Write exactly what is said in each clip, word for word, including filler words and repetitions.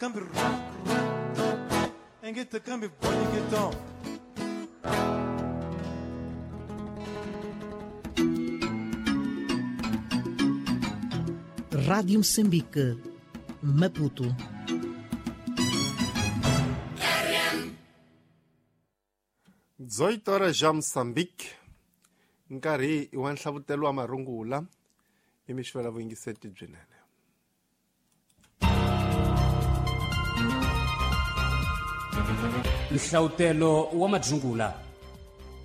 Kambi engita kambi boniketon. Rádio Moçambique, Maputo. dezoito horas já Moçambique, nkarhi wa nhlavutelo wa marungula i mixivela vuyingiseti byinene. Nhlavutelo wa madzungula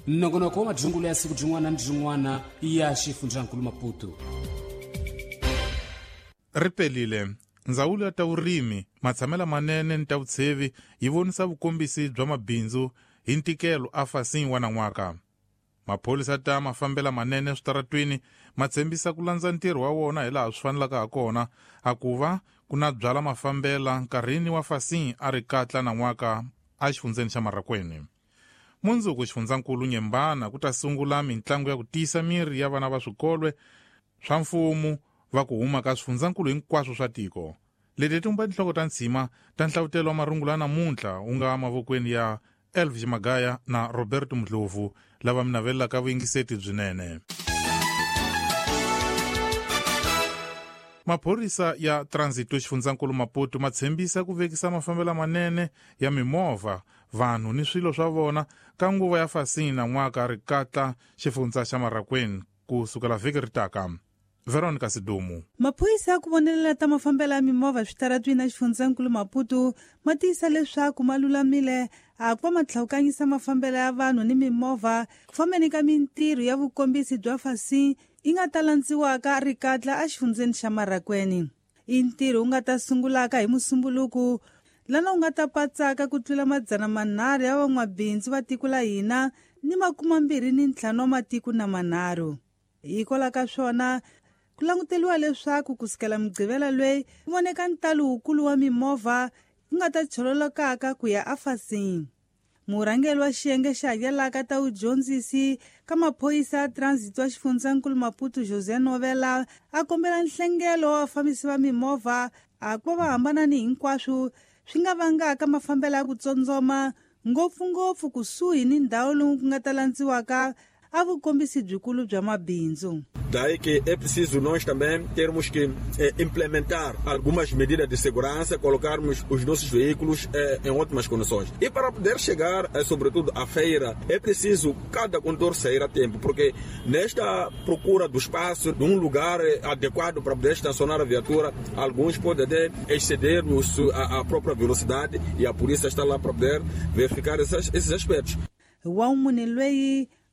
nongonoko wa madzungula ya siku byin'wana ni byin'wana ya xifundzankulu Maputo. Ri pelile ndzawulo ya ta vurimi matshamelo manene ni ta vutshevi yi vonisa vukombisi bya mabindzu hi ntikelo a fasini wa nan'waka. Maphorisa ta mafambela manene switaratwini ma tshembisa ku landza ntirho wa wona hi laha swi fanelaka ha kona a ku va ku na byala mafambela nkarhini wa fasini a ri katla nan'waka a xifundzeni xa Marracuene. Mundzuku xifundzankulu Nyembana ku ta sungula mintlangu ya ku tiyisa miri ya vana va swikolwe swa mfumo va ku huma ka swifundzankulu hinkwaswo swa tiko. Leti tumba tinhloko ta ntshima ta nhlavutelo wa marungula namuntlha wu nga mavokweni ya Elvis Magaya na Roberto Mdlovu lava mi navelelaka vuyingiseti byinene. Maphorisa ya Transito xifundzankulu Maputo ma tshembisa ku vekisa mafambelo manene ya mimovha, vanhu ni swilo swa vona ka nguva ya fasini nan'waka ri katla xifundza xa Marracuene ku sukela vhiki ri taka. Veronica Sidumu. Maphorisa ya ku vonelela ta mafambelo ya mimovha switaratwini na xifundzankulu Maputo ma tiyisa leswaku ma lulamile a ku va ma tlhawukanyisa mafambelo ya vanhu ni mimovha ku fambeni ka mintirho ya vukombisi bya fasini yi nga ta landziwaka ri katla exifundzeni xa Marracuene. I ntirho wu nga ta sungulaka hi Musumbuluku lana wu nga ta patsaka ku tlula madzana manharhu ya van'wabindzu va tiko la hina ni makumambirhi ni ntlhanu wa matiko na manharhu. Hikwalaho ka swona ku languteriwa leswaku kusukela Mugqivela loyi ku voneka ntalo wukulu wa mimovha ku nga ta chololokaka ku ya afasini. Murhangeri wa xiyenge xa hakelaka ta vudyondzisi ka maphorisa ya Transit wa xifundzankulu Maputo José Novela a kombela nhlengelo wa vafambisi va mimovha a ku va va hambana ni hinkwaswo swi nga vangaka mafambelo ya ku tsondzoma ngopfungopfu kusuhi ni ndhawu lowu ku nga ta landziwaka a vukombisi byikulu bya mabindzu. Daí que é preciso nós também termos que eh, implementar algumas medidas de segurança, colocarmos os nossos veículos eh, em ótimas condições. E para poder chegar, eh, sobretudo, à feira, é preciso cada condutor sair a tempo, porque nesta procura do espaço, de um lugar eh, adequado para poder estacionar a viatura, alguns podem até exceder os, a, a própria velocidade e a polícia está lá para poder verificar esses, esses aspectos. Wa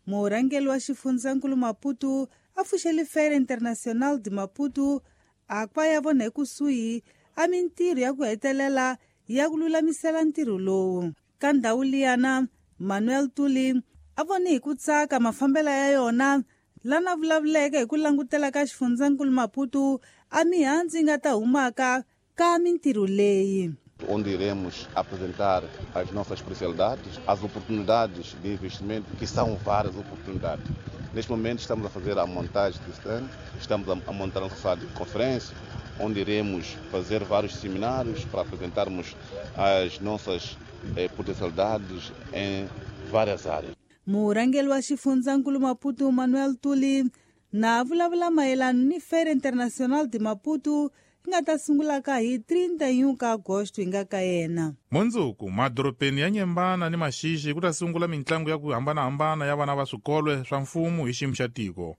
murhangeri wa xifundzankulu Maputo a pfuxele Feira Internacional de Maputo a ku va ya vona ekusuhi a mintirho ya ku hetelela ya ku lulamisela ntirho lowu. Ka ndhawu liyana Manuel Tuli a vone hi ku tsaka mafambelo ya yona lana vulavuleke hi ku langutela ka xifundzankulu Maputo a mihandzu yi nga ta humaka ka mintirho leyi. Onde iremos apresentar as nossas especialidades, as oportunidades de investimento, que são várias oportunidades. Neste momento estamos a fazer a montagem do stand, estamos a montar a nossa sala de conferência, onde iremos fazer vários seminários para apresentarmos as nossas eh, potencialidades em várias áreas. Murhangeri wa xifundzankulu Maputo Manuel Tuli na vulavula mayelana ni Feira Internacional de Maputo nga ta sungulaka hi trinta e um ka agosto hi nga ka yena. Mundzuku madorobeni ya Nyembana ni Maxixi ku ta sungula mintlangu ya ku hambanahambana ya vana va swikolo swa mfumo hi xiyimo xa tiko.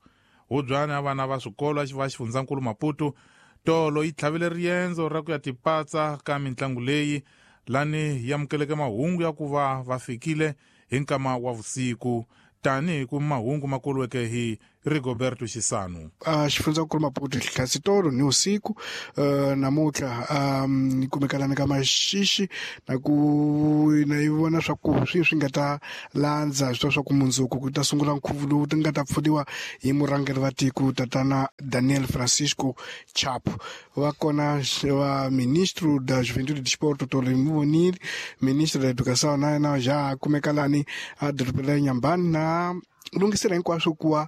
Hubyana ya vana va swikolo va xifundzankulu Maputo tolo yi tlhavile riendzo ra ku ya tipatsa ka mintlangu leyi lani yi amukeleke mahungu ya ku va va fikile hi nkama wa vusiku tanihi ku mahungu ma koliweke hi Rigoberto Xisano. Uh, xifundzankulu Maputo hlasi tolo ni usiku uh, namuntlha um, kumekalana ka Maxixi na ku na yi vona swa ku swi swi nga ta landza swi swa ku mundzuku ku ta sungula nkhuvo lowu ti nga ta pfuniwa hi murhangeri va tiko tatana Daniel Francisco Chapo. Va kona va ministro da Juventude e Desporto Tolo Muvonile, ministro da Educação na na já kumekalani a dorobeni ra Nyambani na lunghisela hinkwaswo ku va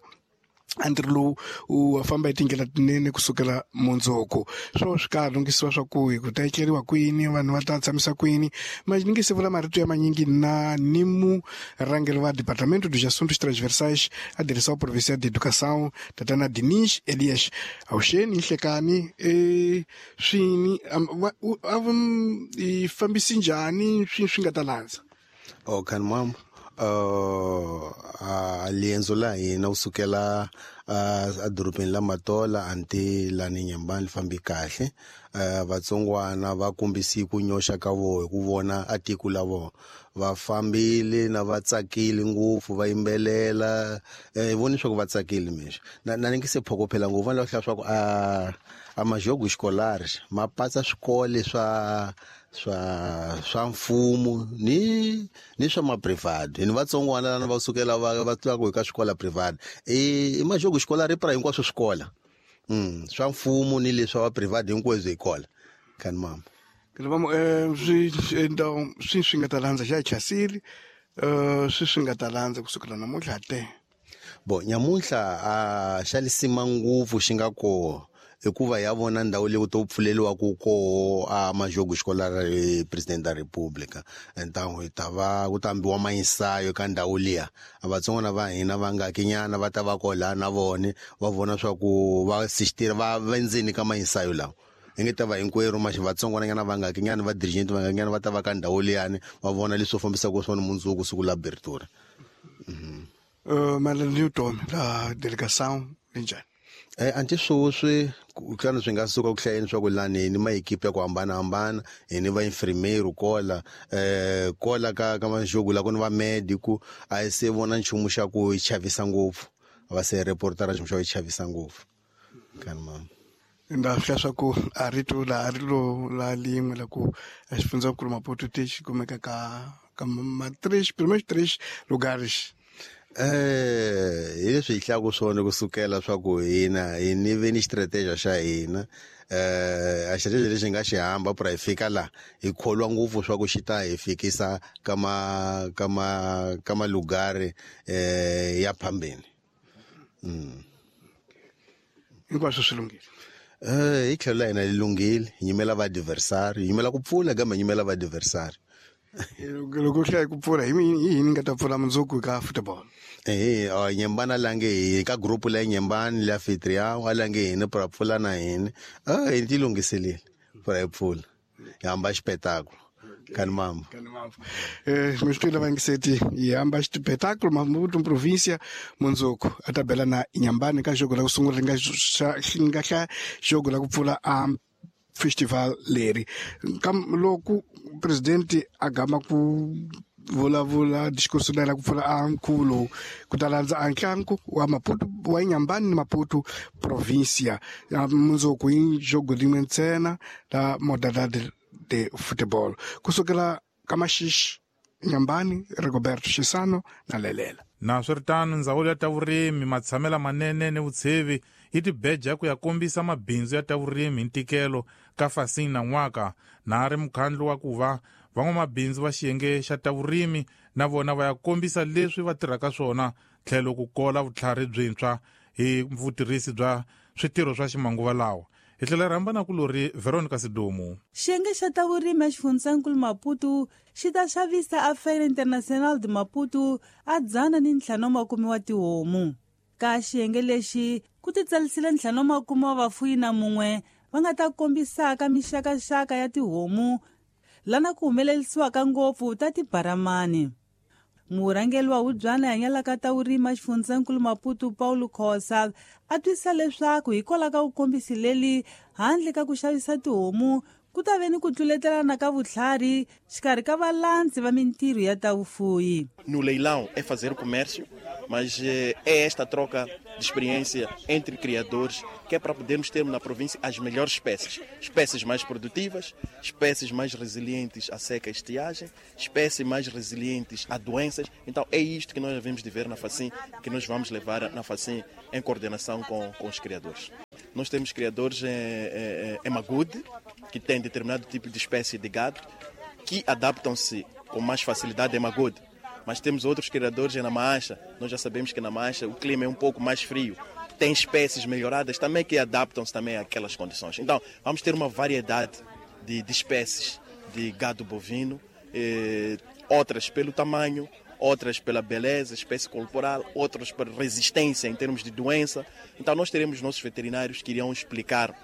A ntirho lowu wu famba hi tindlela tinene kusukela mundzuku. Swo swi ka lunghisiwa swa ku hi ku ta etleriwa kwini, vanhu va ta tshamisa kwini. Mas ni nge se vula marito ya manyingi na ni murhangeri wa Departamento dos Assuntos Transversais a Direção Provincial de Educação, Tatana Diniz Elias. Awuxeni Nhlekani, e swini a i fambisi njhani swi swi nga ta landza? Oh, kan mam. Uh, a lienzo la hina kusukela uh, edorobeni la Matola anti lani Nyambani li fambi kahle. Uh, vatsongwana va kombisi ku nyoxa ka voho hi ku vona a tiko la vona va fambile na va tsakile ngopfu, va yimbelela, eh, hi voni swa ku va tsakile mexo na na ni nge se phokophela ngopfu. Va lava ku hlaya swa ku a a majogo scolares ma patsa swikole swa swa swa mfumo ni ni swa ma private. Ni vatsongwana lana va sukela va va twa ku hi ka swikola private i i majogo scolaire pra hinkwaswo swikola mm swa mfumo ni leswa va private hinkwaswo hi kola kan mama. Vamos, eh swi então swi swi nga ta landza xa chasili, eh swi swi nga ta landza kusukela namuntlha te. Bo nyamuntlha a xa lisima ngopfu xi nga koho hikuva ya vona ndhawu leyi ku to pfuleliwa ku koho a majogo scolaire President da República. Então hi ta va ku ta ambiwa mainsayo ka ndhawu liya. A vatsongwana va hina va nga kinyana va ta va kola na vone va vona swa ku va assistir va vendzeni ka mainsayo lawa. Hi nge ta va hinkwerhu maxi vatsongwana nyana va nga kinyana va dirigent va nga kinyana va ta va ka ndhawu liyani va vona leswo fambisaka swona mundzuku siku la abertura. Mhm. Eh malani Newton la delegação linjani? Eh anti sweswi xana swi nga suka ku hlayeni swa ku lani ni maekipe ya ku hambanahambana, hi ni va infirmeiro kola eh kola ka ka majogo la ku ni va medico a hi se vona nchumu xa ku chavisa ngopfu, va se reportara nchumu xa ku chavisa ngopfu kan mama. Nda hlaya swa ku a rito la a ri lo la lin'we la ku a xifundzankulu Maputo ti xi kumeka ka ka ma três primeiros três lugares. Eh hi leswi hi hlaya swona kusukela swa ku hina hi ni ve ni strategy xa hina eh a strategy lexi nga xi hamba pra hi fika la hi kholwa ngopfu swa ku xi ta hi fikisa ka ma ka ma ka malugari eh ya phambeni. Mm hinkwaswo swi lunghile. Eh hi tlhelo la hina li lunghile, hi nyimela va adversary, hi nyimela ku pfula kambe hi nyimela va adversary. Loko hlaya ku pfula hi yini nga ta pfula mundzuku ka football? Eh eh Nyembana lange hi ka group la Nyembani la anfitrião alange hina pra pfula na hina. Ah hi ti lunghiselile pra hi pfula. Hi hamba espetáculo. Kan mama. Kan mama. Eh meus filhos vai ngiseti hi hamba espetáculo Maputo província mundzuku a tabela na Nyambani ka jogo la ku sungula nga nga hla jogo la ku pfula a festival leri. Kam loko presidente a gama ku vulavula discurso la ku pfula a nkhuvo ku ta landza a ntlangu wa Maputo wa Nyambani ni Maputo província mundzuku hi jogo rin'we ntsena la modalidade de futebol kusukela ka Maxixe, Nyambani, Rigoberto Xisano na Lelela. Na swiritano ndzawulo ya ta vurimi, matshamela manene ni vutshevi yi tibeja ku ya kombisa mabindzu ya ta vurimi hi ntikelo ka Fasini na n'waka na ri mukhandlu wa ku va van'wamabindzu va xiyenge xa ta vurimi na vona va ya kombisa leswi va tirhaka swona tlhelo ku kola vutlhari byintshwa hi vutirhisi bya switirho swa ximanguva lawa. Hi tlhela rhamba na kulori Veronica Sidumo. Xiyenge xa ta vurimi eXifundzankulu Maputo xi ta xavisa a Feira Internacional de Maputo a dzana ni ntlhanu makume wa tihomu. Ka xiyenge lexi ku titsarisile ntlhanu makume wa vafuyi na mun'we va nga ta kombisaka mixakaxaka ya tihomu lana ku humelerisiwaka ngopfu ta tibaramani. Murhangeri wa hubyana hanyalaka ta vurimi eXifundzankulu Maputo Paulo Khosa a twisisa leswaku hikwalaho ka vukombisi leli handle ka ku xavisa tihomu ku ta ve ni ku tluletelana ka vutlhari xikarhi ka valandzi va mintirho ya ta vufuyi. No leilão é fazer comércio, mas é esta troca de experiência entre criadores que é para podermos ter na província as melhores espécies. Espécies mais produtivas, espécies mais resilientes à seca e estiagem, espécies mais resilientes a doenças. Então é isto que nós devemos de ver na Facim, que nós vamos levar na Facim em coordenação com, com os criadores. Nós temos criadores em, em, em Magude, que têm determinado tipo de espécie de gado, que adaptam-se com mais facilidade em Magude. Mas temos outros criadores em Namacha. Nós já sabemos que na Namacha o clima é um pouco mais frio. Tem espécies melhoradas também que adaptam-se também àquelas condições. Então, vamos ter uma variedade de, de espécies de gado bovino, eh, outras pelo tamanho, outras pela beleza, espécie corporal, outras por resistência em termos de doença. Então, nós teremos nossos veterinários que irão explicar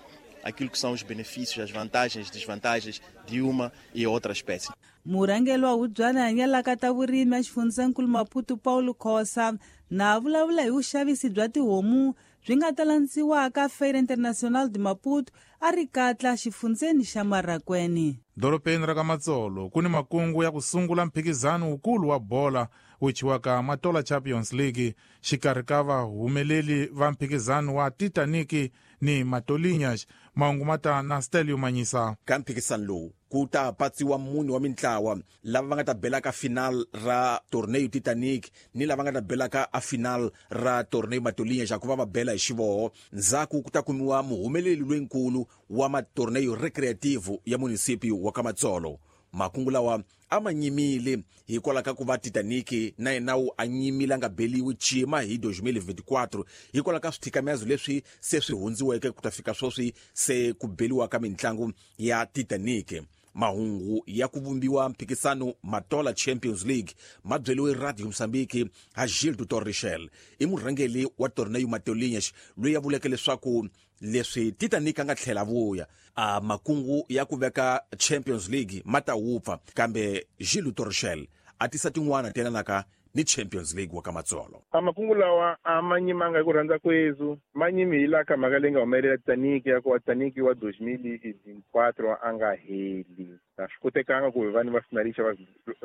aquilo que são os benefícios, as vantagens, desvantagens de uma e outra espécie. Murhangeri wa hubyana hanyalaka ta vurimi exifundzhankulu Maputo Paulo Khosa na vulavula hi vuxavisi bya tihomu byi nga ta landziwaka Feira Internacional de Maputo a ri katla xifundzeni xa Marracuene. Dorobeni ra ka Matsolo ku ni makungu ya ku sungula mphikizano wukulu wa bola wu thyiwaka Matola Champions League xikarhi ka vahumeleli va mphikizano wa Titanic ni Matolinhas. Mahungu ma ta na Stelio Manyisa. Ka mphikizano lowu ku ta patsiwa mune wa mintlawa lava va nga ta bela ka final ra torneo Titanic ni lava nga ta bela ka a final ra torneo Matolinhas ku va va bela hi xivoho. Ndzhaku ku ta kumiwa muhumeleli loyinkulu wa matorneo recreativo ya municipio wa ka Matsolo. Makungu lawa a ma nyimile hikwalaho ka ku va Titanic na yena wu a nyimile a nga beliwi cima hi twenty twenty-four hikwalaho ka swithikamezo leswi se swi hundziweke ku ta fika sweswi se ku beliwa ka mintlangu ya Titanic. Mahungu ya ku vumbiwa mphikisano Matola Champions League ma byeliwe Radio Mozambique ha Gildo Torrichel, i murhangeri wa torneo Matolinhas loyi a vuleke leswaku leswi Titanic a nga tlhela vuya a makungu ya ku veka Champions League ma ta wupfa, kambe Gildo Torrichel a tisa tin'wana telanaka ni Champions League wa ka Matsolo. A makungu lawa a ma nyimanga hi ku rhandza kwezu, ma nyimi hi laha ka mhaka leyi nga humelela Titanic ya ku Titanic wa twenty twenty-four a nga heli. A swi kotekanga ku hi vanhu va finalista va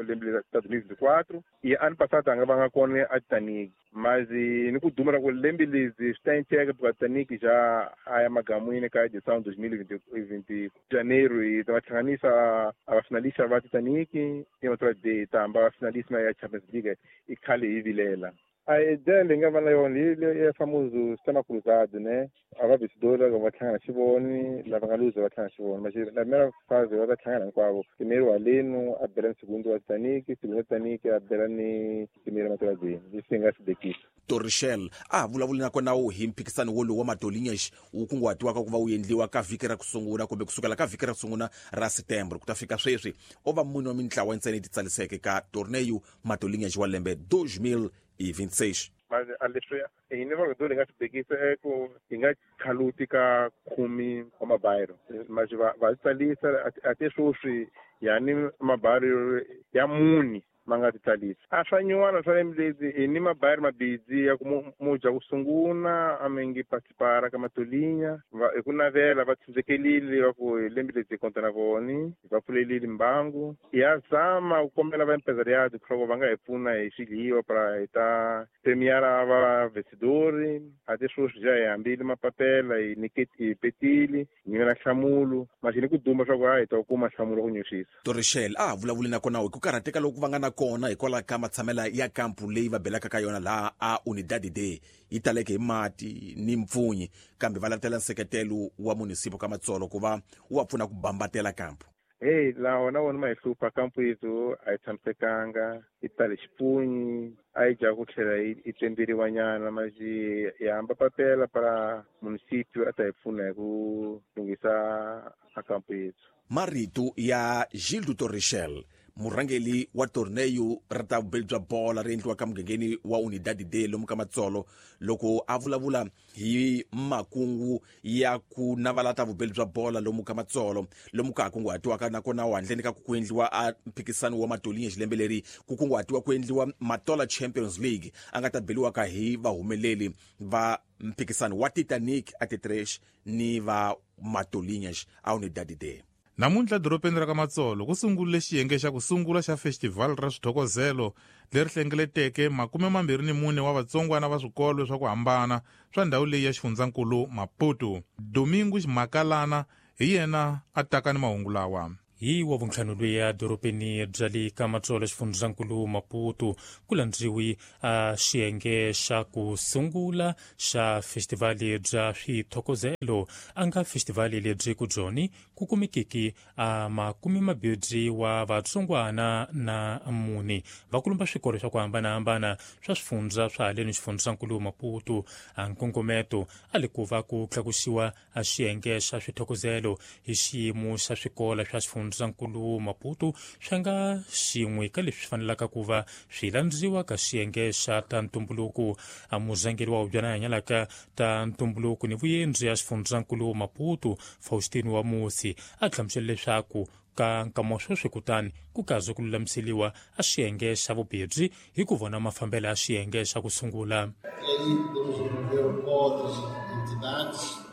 lembe twenty twenty-four i ano passado a nga va nga kona a Titanic, mas ni ku duma ra ku lembe lezi swi ta endleka because Titanic já a ya magamwini ka edição twenty twenty janeiro hi ta va hlanganisa a va finalista va Titanic i va de tamba va finalista ya Champions League i khale hi vilela. A ideia leyi nga va na yona hi ya famoso sistema cruzado, né? A va vencedor va hlangana xivoni, lava nga luza va hlangana xivoni. Mas na primeira fase va ta hlangana hinkwavo. Primeiro Aleno a bela ni segundo wa Titanic, segundo wa Titanic a bela ni primeiro Matola. Leswi hi nga swi bekisa. Torrichel a vulavuli nakona wu hi mphikisano wolowu wa Matolinhas wu kunguhatiwaka ku va wu endliwa ka vhiki ra ku sungula kumbe kusukela ka vhiki ra ku sungula ra September ku ta fika sweswi o va mune wa mintlawa ntsena yi titsaliseke ka torneo Matolinhas wa lembe twenty twenty-six. Mas a leswi hi ni va nga swi bekisa i ku hi nga khaluti ka khume wa mabayiro, mas va va tsalisa a te sweswi yani mabayiro ya muni ma nga ti tsalisa. A swa nyuwana swa lembe lezi hi ni mabayiro mabidzi ya ku mu dya ku sungula a mi ngi participara ka Matolinha hi ku navela va tshunzekelile va ku hi lembe lezi hi konta na voni hi va pfulelile mbangu. Ya zama ku kombela va empresariado leswaku va nga hi pfuna hi swidliwa para hi ta premiara va vencedori. A te sweswi ja hi hambile mapapela hi niketi hi petile hi nyimela nhlamulo mas ni ku duma swa ku a hi ta kuma nhlamulo ku nyuxisa. Torrichel a vulavuli nakona hi ku karhateka loku va nga na kona hikwalaho ka matshamela ya kampu leyi va belaka ka yona laha a Unidade D yi taleke hi mati ni mpfunyi, kambe va latela nseketelo wa munisipo ka Matsolo ku va wu va pfuna ku bambatela kampu. Hey, laha na wona ma hi hlupha kampu yethu a yi tshamisekanga, yi tale xipunyi, a yi dya ku tlhela yi tsemberiwa nyana, mas hi hamba papela para municipio a ta hi pfuna hi ku lunghisa a kampu yethu. Marito ya Gildo Torrichel, murhangeri wa torneo ra ta vubeli bya bola ri endliwaka mugangeni wa Unidade D lomu ka Matsolo, loko a vulavula hi makungu ya ku navala ta vubeli bya bola lomu ka Matsolo lomu ka ha kunguhatiwaka nakona handleni ka ku endliwa a mphikisano wa Matolinhas lembe leri ku kunguhatiwa ku endliwa Matola Champions League a nga ta beliwaka hi vahumeleli va mphikisano wa Titanic a Titresh ni va Matolinhas a Unidade D. Namuntlha dorobeni ra ka Matsolo ku sungurile xiyenge xa ku sungula xa festival ra swithokozelo leri hlengeleteke makume mambirhi ni mune wa vatsongwana va swikolo swa ku hambana swa ndhawu leyi ya xifundzankulu Maputo. Domingos Makalana hi yena a taka ni mahungu lawa. Hi wa vuntlhanu lwiya dorobeni bya le ka Matsolo xifundzankulu Maputo ku landziwi a xiyenge xa ku sungula xa festivali bya swithokozelo a nga festivali lebyi ku byoni ku kumekiki a makume mabirhi wa vatsongwana na mune vakulumba swikolo swa ku hambanahambana swa swifundza swa haleni xifundzankulu Maputo. A nkongometo a le ku va ku tlakusiwa a xiyenge xa swithokozelo hi xiyimo xa swikolo swa xifundzankulu Maputo swi nga xin'we ka leswi fanelaka ku va swi landziwa ka xiyenge xa ta ntumbuluko. A murhangeri wa hubyana hanyalaka ta ntumbuluko ni vuyendzi ya xifundzankulu Maputo Faustino wa Musi a hlamusela leswaku ka nkama sweswi kutani ku kaze ku lulamiseliwa a xiyenge xa vubirhi hi ku vona mafambelo ya xiyenge xa ku sungula.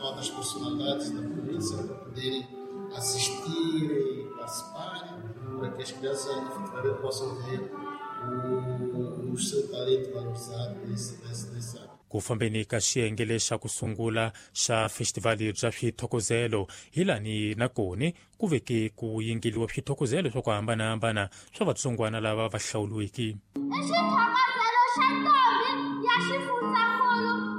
Outras personalidades da província para poderem assistirem e participarem, para que as crianças efetivamente possam ver o, o seu talento valorizado nesse, nesse, nesse ano. Ku fambeni ka xiyenge lexa ku sungula xa festivali bya swithokozelo hi lani na koni ku veke ku yingeliwa swithokozelo swa ku hambanahambana swa vatsongwana lava va hlawuliweke. I xithokozelo xa ntombi ya xifundzankulu